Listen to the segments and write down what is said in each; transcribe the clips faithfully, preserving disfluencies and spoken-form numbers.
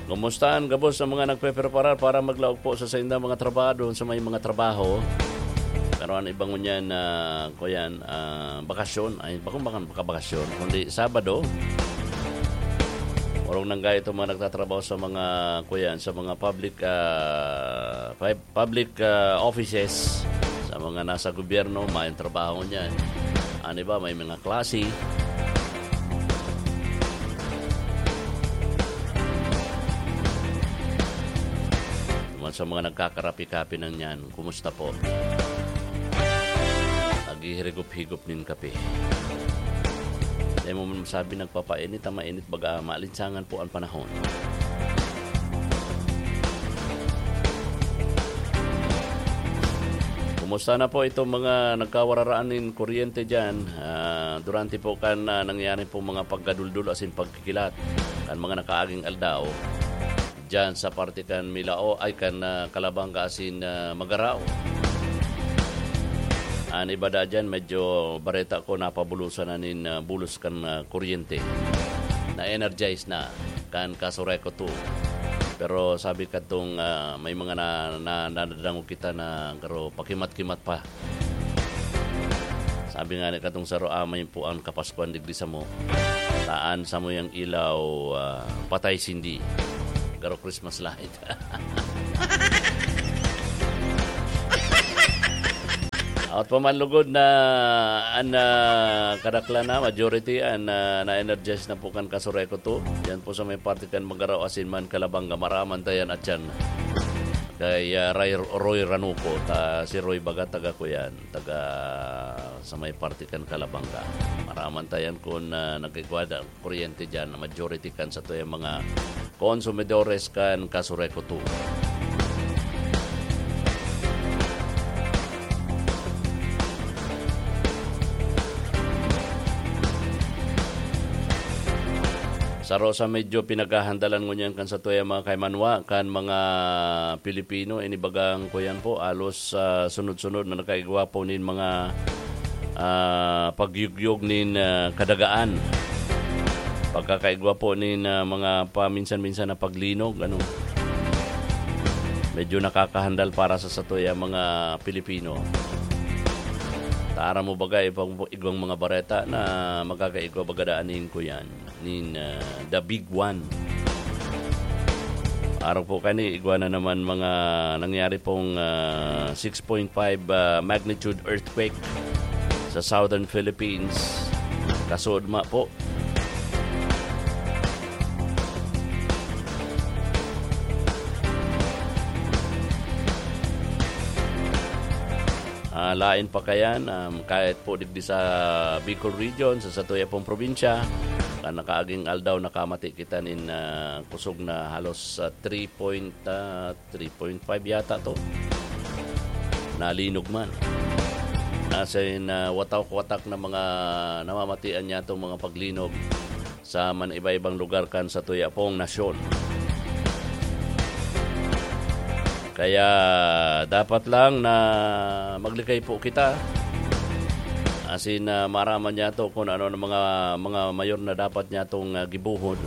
Kumusta an gabos sa mga nagpepreparar para maglaog po sa saindang mga trabaho, sa may mga trabaho? Pero ang iba ngunyan na, kuyan, ah, bakasyon, ay, bakong baka, baka bakasyon, kundi Sabado. Orong nang gayo itong mga nagtatrabaho sa mga, kuyan, sa mga public, ah, pub-, public, ah, offices, sa mga nasa gobyerno, may trabaho niyan. Ano ba, may mga klase. Naman sa mga nagkakarapi-kapi na niyan, kumusta po? Naghihirigop-higop nin kape. Dai mo man masabi nagpapainit, ang mainit baga, maalinsangan po ang panahon. Kumusta na po itong mga nagkawararaan nin kuryente diyan? Ah, durante po kan, ah, nangyari po mga pagkaduldul asin pagkikilat kan mga nakaaging aldaw. Diyan sa parte kan Milao, ay, kan, ah, Calabanga asin, ah, Magarao. An iba da diyan, medyo bareta ko, napabulosan na nin, ah, bulos kan, ah, kuryente. Na-energize na kan Casureco two. Pero sabi kadtong, ah, may mga na, na, nadadangog kita na garo pakimat-kimat pa. Sabi nga ni katong saro, "Amay po ang Kapaskuhan digdi samo. Taan samo yang ilaw, ah, patay sindi." Garo Christmas light. At pamanlugod na an, ah, kadaklan na, majority an, ah, na-energize na po kan Casureco two. Yan po sa may parte kan Magarao asin man Calabanga, maraman tayan at yan. Kay, ah, Ray, Roy Ranuco, ta, si Roy baga, taga ko yan, taga sa may parte kan Calabanga. Maraman tayan kun, ah, nagkigwada ang kuryente dyan, na majority kan sa tuyang mga konsumidores kan Casureco two. Saro sa medyo pinaghahandalan ngunyan kan satuya mga kaimanwa, kan mga Pilipino, ini bagang kuyan po, alos, ah, sunod-sunod na nakaigwa po nin mga, ah, pagyugyog nin, ah, kadagaan. Pagkakaigwa po nin, ah, mga paminsan-minsan na paglinog, ano. Medyo nakakahandal para sa satuya mga Pilipino. Taram mo bagay, pag igwang mga bareta na magkakaigwa baga daan nin kuyan. nin, ah, The Big One. Araw po kani, igwa na naman mga nangyari pong, ah, six point five, ah, magnitude earthquake sa Southern Philippines. Kasuodma po. Ah, lain pa kayan, um, kahit po digdi sa Bicol Region, sa satuya pong probinsya, kan nakaaging aldaw, nakamati kita nin, ah, kusog na halos, ah, three point, ah, three point five yata to. Nalinog man. As in, ah, watak-watak na mga namamatian niya itong mga paglinog sa man iba-ibang lugar kan satuya pong nasyon. Kaya dapat lang na maglikay po kita. Asin, ah, maraman niya to kung ano ang mga, mga mayor na dapat niya tong, ah, gibuhon.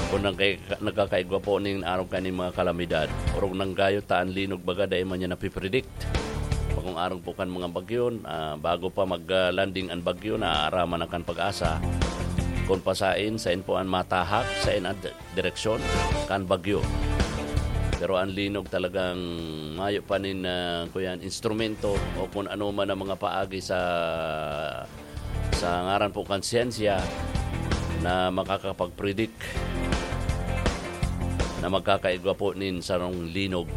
Kung nagkay-, nagkakaigwa po ning araw kaning mga kalamidad. Orog nang gayo, taan linog baga, dai man niya napipredict. Bagong arog po kan mga bagyo, ah, bago pa mag, ah, landing an bagyo, naaaraman na kan pag-asa. Kun pasain, sain po an matahak, sain an di-, direksyon kan bagyo. Pero an linog talagang mayo pa nin, ah, kuyan, instrumento o kun ano man ang mga paagi sa sa ngaran po kan siyensya na makakapag-predict na magkakaigwa po nin sarong linog.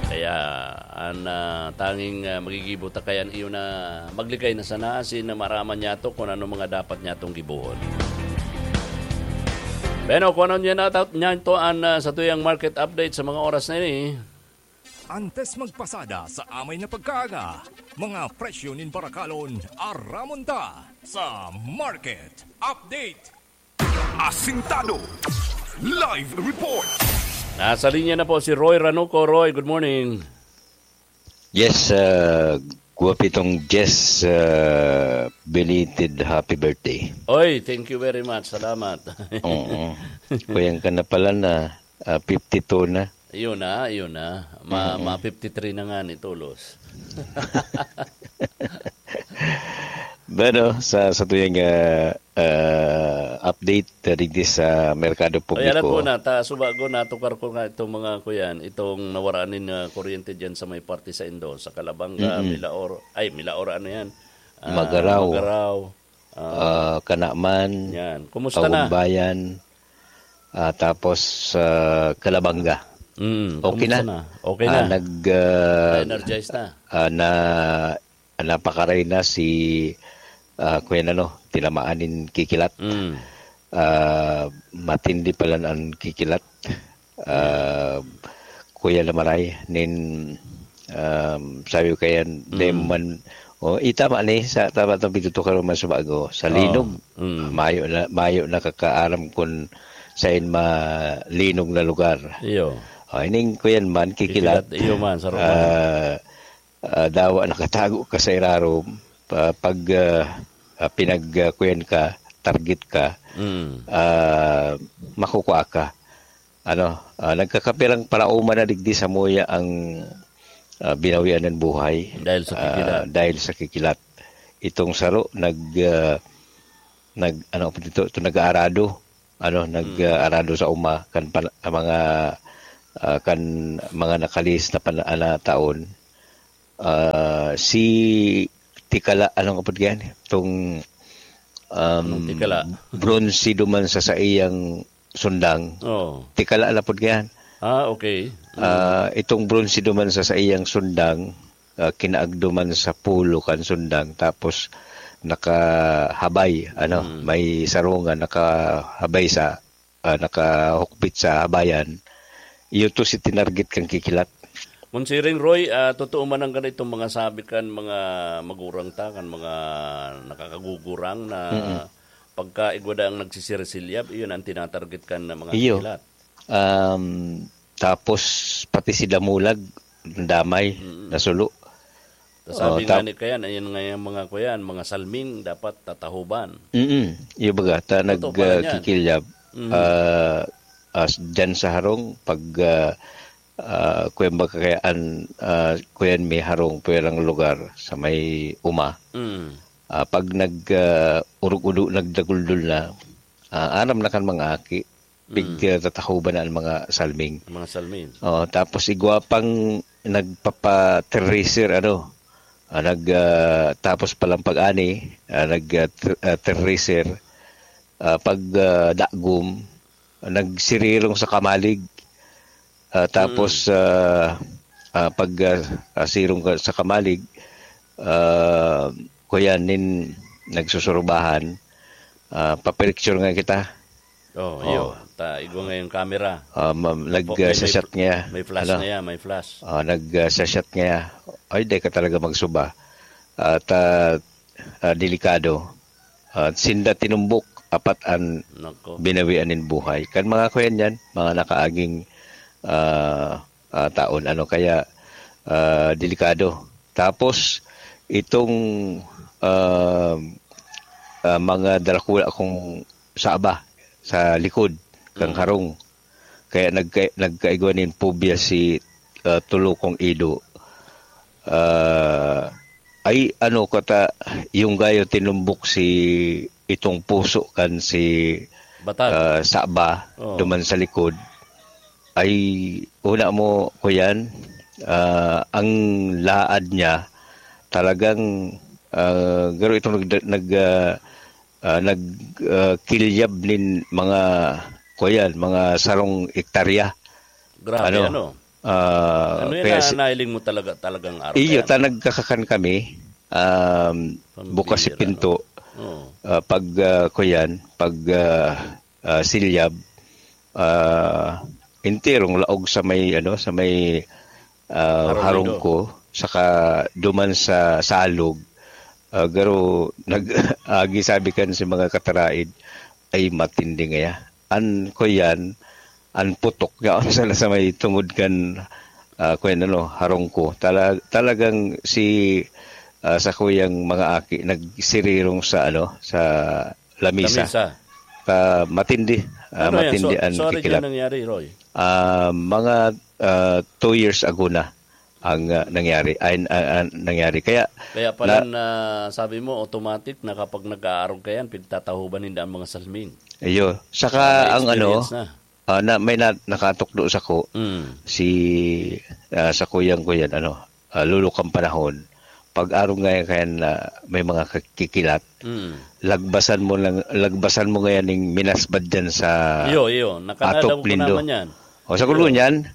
Kaya an, ah, tanging, ah, magigibo ta kayan iyo na maglikay na sana asin na maraman niya to kung ano mga dapat niya tong gibohon. Bueno, kung ano niya na, niya to an, ah, satuyang market update sa mga oras na ini. Antes magpasada sa amay na pagkaaga, mga presyo nin barakalon, aramon ta sa Market Update. Asintado. Live report. Nasa linya na po si Roy Ranuco. Roy, good morning. Yes, uh, Guwapitong Jess, ah, belated happy birthday. Oy, thank you very much. Salamat. Oo. Kuyang ka na pala na, ah, fifty-two na. Yun na, yun na. Ma, Mm. ma fifty-three na nga ni Tulos. Bueno, sa, sa tuyang, ah, ah, update, ah, digdi sa merkado Ay, alam ko publiko. na, ta, subago, natukar ko nga itong mga, kuyan, itong nawaraan nin, ah, kuryente dyan sa may parte sa Indo, sa Calabanga, Mm-mm. Milaor, ay, Milaor, ano yan? Ah, Magarao. Magarao. Ah, Ah, Canaman, yan. Kumusta na? Kawumbayan, ah, tapos, ah, Calabanga. Mm, Okay kumusta na. na? Okay Ah, na? nag, ah, Na-energize na? ah, na, napakaray na si, ah, Kuya Nano, tinamaan nin kikilat. Mm. Ah, matindi pala an kikilat. Ah, Kuya Lamaray, nin, um, sabi ko kaya, di Mm. man, oh, itama ni, sa, tama itong pitutukar man sa bago. Sa Oo. linog, Mm. mayo na, mayo nakakaaram kung saan malinog na lugar. Iyo. Oh, ining kuyan man, kikilat. Kikilat, iyo man, sa roman. Ah, ah, dawa nakatago ka sa irarom, pa-, pag, ah, ah, pinag, ah, kuyan ka, target ka, Mm. ah, makukuha ka. Ano, ah, nagkakapirang paraoma na digdi sa muya ang, ah, binawian ng buhay. Dahil sa Ah, kikilat. dahil sa kikilat. Itong saro nag, ah, nag, ano po dito, ito nag-aarado. Ano, nag, Mm. ah, arado sa uma, kan pan-, ang mga, ah, kan mga nakalihis na pan-, ah, na taon. Ah, si Tikala, ano nga po yan? Itong, um, Anong Tikala? Bronze duman sa saiyang sundang. Oo. Tikala na po yan. Ah, okay. Mm. Ah, itong bronze duman sa saiyang sundang, ah, kinaagduman sa pulo kan sundang, tapos nakahabay, ano, Mm. may sarungan, nakahabay sa, ah, nakahukbit sa habayan. Iyo to si tinarget kan kikilat. Monsiring Roy, ah, totoo man ang ganitong mga sabi kan mga magurang ta, kan mga nakakagugurang na Mm. pagka igwa da ang nagsisirsilyab, iyon ang tinatarget kan na mga Iyo. kikilat. Um, tapos pati si Damulag, damay, Mm. nasulo. Tas sabi Oh, nga tap- ni Kayan, ayan nga yung mga kuyan, mga salming dapat tatahuban. Mm, yung baga, ta Totoo pala yan. nagkikilyab, Mm. ah, as, dyan sa harong, pag, ah, ah, kuyan baga kaya an, ah, kuyan may harong, pwerang lugar sa may uma. Mm. Ah, pag nag, ah, urog-udo, nagdaguldol na, ah, aram na kan mga aki, pig, Mm. ah, tatahuban na ang mga salming. Ang mga salming. Oh, tapos igwa pang nagpapa-terracer, ano, ah, nag, ah, tapos palang pag-ani, ah, nag, ah, ter-, ah, terracer, ah, pag, ah, dagom, nagsirirong sa kamalig, ah, tapos, Mm. ah, ah, pag, ah, ah, sirong ka sa kamalig, ah, kuya nin nagsusurubahan, ah, papiricture nga kita. Oh, Oh. iyo. Ta, igwa nga yung camera. Ah, ma-, May nag, po-, ah, may, may sashat fl-, niya. may flash Ano? niya, may flash. Ah, nag, ah, sashat niya. Ay, di ka talaga magsuba. At, ah, ah, delikado. Ah, sinda tinumbok, apat an Nako. binawian nin buhay. Kan mga kuyan yan, mga nakaaging, ah, ah, taon. Ano kaya, ah, delikado. Tapos, itong, ah, ah, mga darakula kong saba sa likod, kang Mm. harong. Kaya nagka-, nagkaigwa nin phobia si, ah, Tulukong Ido. Ah, ay, ano, kata, yung gayo tinumbok si itong puso kan si, Batag. ah, Saba, Oo. duman sa likod. Ay, una mo, kuyan, ah, ang laad niya, talagang, ah, garo itong nag-, nag, ah, ah, nag, ah, kilyab nin mga, kuyan, mga sarong ektarya. Grabe, Ano? ano? Ah, Ano yan kaya na si nahiling mo talaga, talagang araw Iyo, kaya ta ano? nagkakakan kami, um, Pambira, bukas si pinto. no? Oo. Ah, pag, ah, kuyan, pag, ah, ah, silyab, ah, enterong laog sa may, ano, sa may, ah, Harong harong Indo. ko, saka duman sa salog. Ah, garo, nag-, agi sabi kan si mga kataraid, ay matindi ngaya. An, kuyan, an putok yaon sana sa may tungod kan, ah, kuyan, ano, harong ko. Tala-, talagang si, ah, sakuyang mga aki nagsirirong sa ano, sa lamisa. Lamisa. Ah, matindi, ah, Ano yan? matindi So, ang sorry, kikilat. Nangyari, Roy? Ah, mga ah, two years ago na ang ah, nangyari. Ay, ah, ah, nangyari. Kaya Kaya pala na, sabi mo, automatic na kapag nag-aarog ka yan, pigtatahuban ninda ang mga salming. Iyo. Saka ang ano, Experience na. ah, na may na, nakatukdo sa ko Mm. si ah, sa kuyang ko yan, ano, ah, lulukang panahon, pag arog nga yan na may mga kakikilat, Mm. lagbasan mo lang, lagbasan mo ngayon ng minasbad dyan sa Iyo, iyo. Nakanada atop ko lindo. Naman yan. O sa kulo niyan,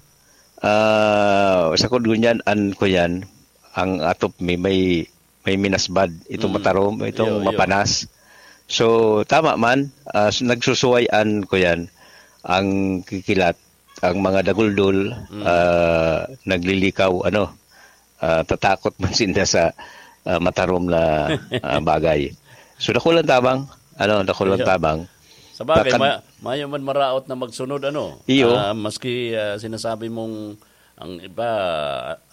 ah, sa kulo niyan, an ko yan, ang atop mi may may minasbad, itong Mm. matarom, itong Iyo, iyo. mapanas. So, tama man, ah, s- nagsusuwayan ko yan, ang kikilat, ang mga daguldol, Mm. ah, naglilikaw, ano, ah, tatakot man sinda sa ah, matarom na ah, bagay. So, dakulang tabang, ano, dakulang Iyo. Tabang. Sa bagay, Bakad- ma- mayo man maraot na magsunod, ano? Iyo. Ah, maski ah, sinasabi mong ang iba,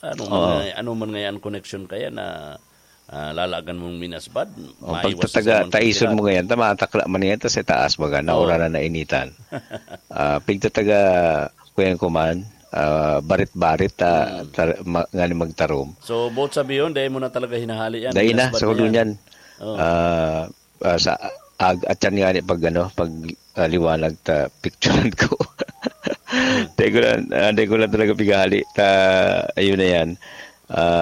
ano man, Oo. nga- ano man ngayon connection kaya na ah, lalagan mong minasbad, O, maiwas pagtataga, sa taison kikilat. mo ngayon, tamatakla man ngayon, tas itaas baga, Oo. naura na nainitan. Ah, pigtataga, kuyan ko man, ah, barit-barit, ta, ta, ma, ngani magtarom. So, both sabi yun, dahil mo na talaga hinahali yan. Dahil na, minasbad sa kulo yan. niyan. Oo. Ah, ah, sa ag at yan nga ni pag ano, pag ah, liwanag ta picturean ko. Dahil ko lang, ah, dahil ko lang talaga pighali. Ta, ayun na yan. Ah,